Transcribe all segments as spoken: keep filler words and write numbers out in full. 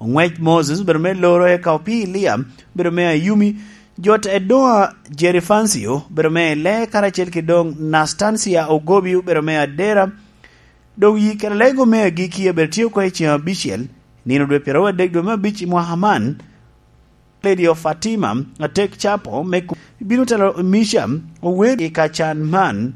Oŋwec Moses obedo me loro eka opii Lia obedo me ayumi. Jot Edoa Jerifancio obedo me le karacel ki doŋ Nastancia Ogobi obedo me adera. Doŋ yi kede lego me agikki abedo tye oko i ceŋ abicel, nino dwe pyeraryo adek dwe me abic i mwaka man. Lady of Fatima, atek capo me ku-, bino telo Misha, ower i kacan man.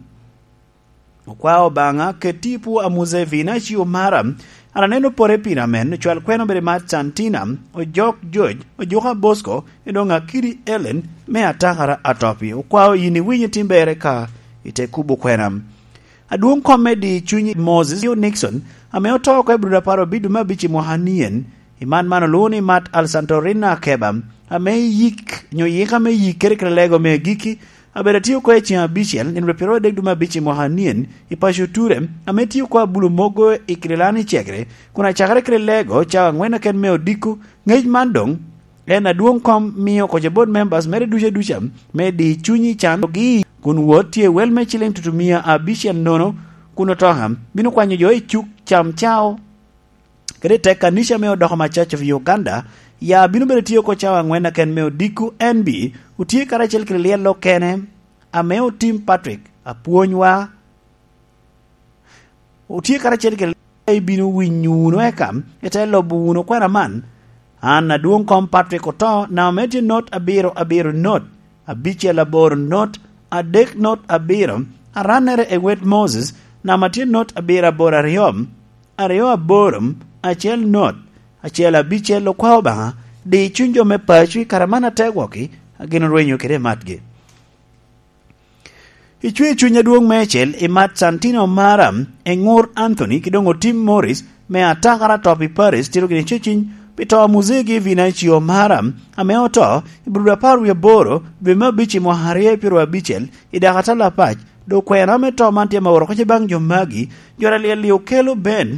Okwao Obaŋa, ket tipo a Museveni, acio mara, an aneno pore pira men, ocwal kwena obedo i Mat Santina, ojok George, ojuka Bosco, i doŋ akidi Ellen, me atakara atopi. Okwao yin iwinyo tim bere ka ite kubo kwena. Adwoŋ kom me di cuny Moses Nixon, ame oto oko i Bruda Paro Bidu me abic i mwaka nien, i man man olwoŋo ni Mat Alsantorina Keba, ame yik, nyo yika me yik kede kede lego me agikki, abedo atio oko i ceŋ abicel, nino pyeraryo adek dwe me abic i mwaka nien, i paco Ture, ame tio oko abulo mogo i kede lani cegere, kun acakere kede lego cawa aŋwen aken me odiko, ŋec man doŋ, en adwoŋ kom mio koca board members mere duca duca, me di cuny i can, gi kun wot tye wel me ciling tutumia abicel nono, kun otoka bino kwanyo jo i cuk cam cao. Kede tek kanica me odoko ma Church of Uganda, ya bino bedo tye oko cawa aŋwen aken me odiko N B, otye karacel kede lyel okene, ame otim Patrick, apwonywa, otye karacel kede ibino winyo wunu eka, ite lobo wunu kwena man. An adwoŋ kom Patrick oto, namba me tye not abiro abiro not, abicel aboro not, adek not abiro, arannere i wet Moses, namba tye not abiro aboro aryo, aryo aboro, acel not, acel abicel okwao Obaŋa, di cuny jo me paco i kare man ategwoki, a gin orwenyo kede matgi. Icwe cuny adwoŋ meicel i Mat Santino Mara, Eŋur Anthony, ki doŋ Otim Morris, me atakara top i Paris, tito gini ceciny, pi to a muzegi Vinacio Mara, ame oto, i Bruda apar wie aboro, dwe me abic i mwaka aryo i pyero abicel, i daka atalo apac, dok kwena me to man tye ma oro koca baŋ jo magi, jo alyel-li okelo ben,